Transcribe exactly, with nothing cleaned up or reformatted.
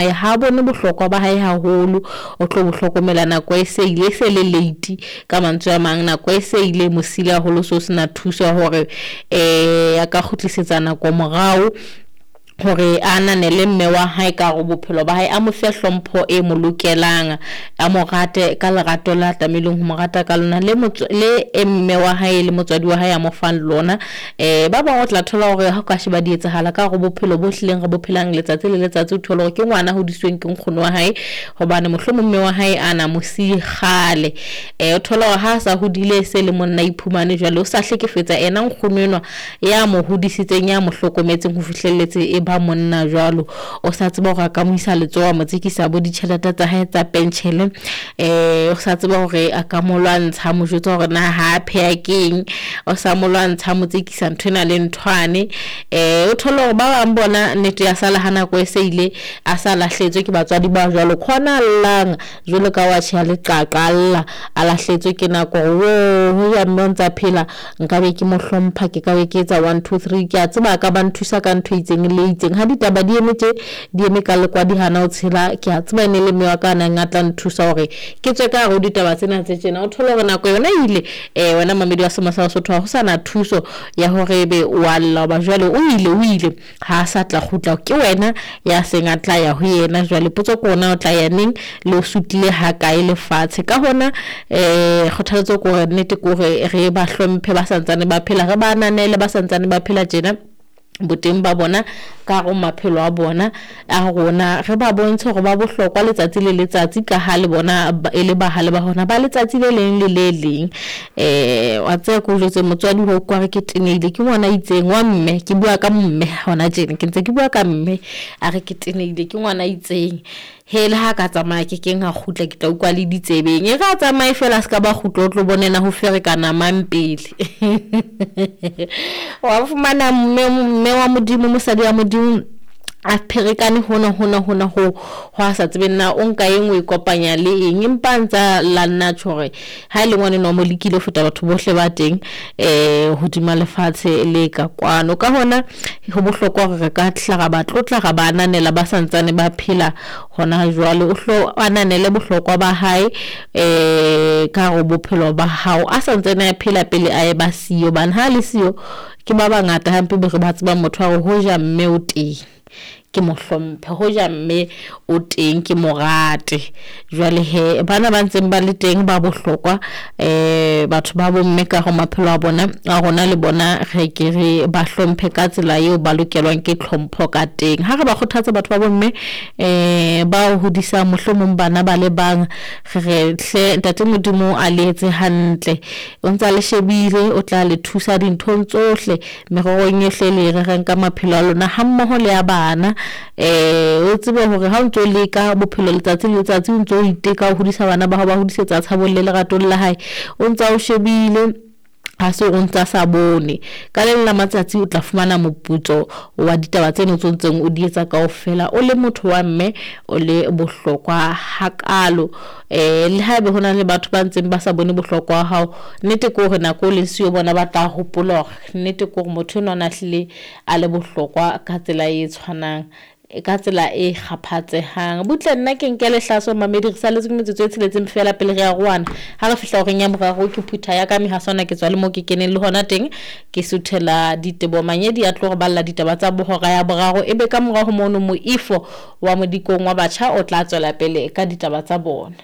Ha bone bohlokwa ba hae haholo, o tlo bo hlokomela nako e se ile, e se le late. Ka mantswe a mang, nako e se ile mo sile haholo, so sena thuso ya hore eh a ka kgutlisetsa nako morao hore a ananele mme wa hae ka hore bophelo ba hae, a mo fe hlompho e mo lokelang, a mo rate ka lerato la tlamehileng ho mo rata ka lona, le le e mme wa hae le motswadi wa hae a mo fang lona. Eh ba bang o tla thola hore ha o ka sheba di etsahala ka hore bophelo bo hlileng re bo phelang letsatsi le letsatsi, o thole hore ke ngwana hodisweng ke nkgono wa hae, hobane mohlomong mme wa hae a na mo siye kgale. Eh o thola hore ha a sa hodile, se le monna, iphumane jwale o sa hlekefetsa ena nkgono enwa ya mo hodisitseng, ya mo hlokometseng ho fihlelletse e ba monna jwalo. O sa tseba hore a ka mo isa letsoho, a mo tsekisa bo ditjhelete tsa hae tsa penshele, eh o sa tseba hore a ka mo lwantsha, mo jwetsa hore na ha pheha keng, o sa mo lwantsha, mo tsekisa nthwena le nthwane. Eh o thole hore ba bang bona nnete ya sala ha nako e se ile, a sa lahletswe ke batswadi ba jwalo, khona llang jwalo ka wa tjhe leqaqa, alla a lahletswe ke nako hore wo ho ya mme o ntsa phela, nka be ke mo hlompha, ke ka be ke etsa one two three, ke a tseba ka ba nthusa ka ntho e itseng le itseng. Ha ditaba di eme tje, di eme ka lekwadi, hana o tshela, ke a tseba ene le mme wa ka nang a tla nthusa hore ke tswe ka hare ho ditaba tsena tse tjena. O thole hore nako yona ile, eh wena mamedi wa Sema sa Basotho, ha ho sana thuso ya hore ebe wa lla, hoba jwale o ile, o ile, ha sa tla kgutla, ke wena ya seng a tla ya ho yena. Jwale potso ke ona, o tla ya neng, le o sutlile ha kae lefatshe? Ka hona eh kgothaletso ke hore nnete ke hore re ba hlomphe ba santsane ba phela, re ba ananele ba santsane ba phela tjena, boteng ba bona ka hare maphelo a bona a rona, re ba bontshe hore ba bohlokwa letsatsi le letsatsi, ka ha le bona e le bahale ba hona ba letsatsi le leng le le leng. Eh wa tseba ke o jwetse motswadi ho kwa re ke tenehile ke ngwana itseng wa mme, ke bua ka mme hona tjena, ke ntse ke bua ka mme, a re ke tenehile ke ngwana itseng, he le ha ka tsamaya ke keng ha kgutla, ke tla utlwa le ditsebeng, e re a tsamaye fela, se ka ba kgutla, o tlo bonena ho ferekana mang pele. Wa fumana mme, mme wa Modimo, mosadi wa Modimo a pherekane hona hona hona ho ho a sa tsebeng na o nka eng, o ikopanya le eng, empa ntsa la nna tjho hore ha e le ngwane no mo lekile ho feta batho bohle ba teng eh hodima lefatshe le ka kwano. Ka hona ho bohlokwa hore re ka hla ra ba tlotla, ra ba ananela ba santsane ba phela hona jwale. O hlo ananele bohlokwa ba hae eh ka hare bophelo ba hao a santsane a phela pele a e ba siyo, bana ha le siyo ke ba bangata hampe be re ba tseba motho wa hore hoja mme o teng ke mo hlomphe, hoja mme o teng ke mo rate. Jwale he bana ba ntseng ba le teng ba bohlokwa, eh batho ba bomme ka ho maphelo a bona a rona, le bona re ke re ba hlomphe ka tsela eo ba lokelwang ke tlhompho ka teng. Ha re ba kgothatsa batho ba bomme eh ba hodisa mohlomong bana ba le bang, re re hle ntate Modimo a le etse hantle, o ntsa le shebile, o tla le thusa dinthong tsohle, mererong yohle le rerang ka maphelo a lona ha mmoho le ya bana. Eh o tsebe hore ha o ntso leka bophelo letsatsi le letsatsi, o ntso iteka ho hodisa bana ba hao, ba hodisetsa tshabong le leratong la hae, o ntsa o shebile, ha se o ntsa sa bone. Ka le la matsatsi o tla fumana moputso wa ditaba tseno tse ntseng o di etsa kaofela, o le motho wa mme, o le bohlokwa hakalo. Eh le haebe hona le batho ba ntseng ba sa bone bohlokwa hao, nnete ke hore nako o leng siyo bona ba tla hopola hore nnete ke hore motho enwa o na hlile a le bohlokwa ka tsela e tshwanang, ka tsela e kgaphatsehang. Butle nna ke nke lehlaso mamedi, re saletse ke metsotso e tsheletseng fela pele re ya roana. Ha re fihla horeng ya boraro ke phutha ya ka mehaswana, ke tswa le mo ke keneng le hona teng, ke suthela Ditebo Manyedi a tlo re balla ditaba tsa bohora ya boraro, ebe ka morao ho mono moifo wa modikong wa batjha o tla tswela pele ka ditaba tsa bona.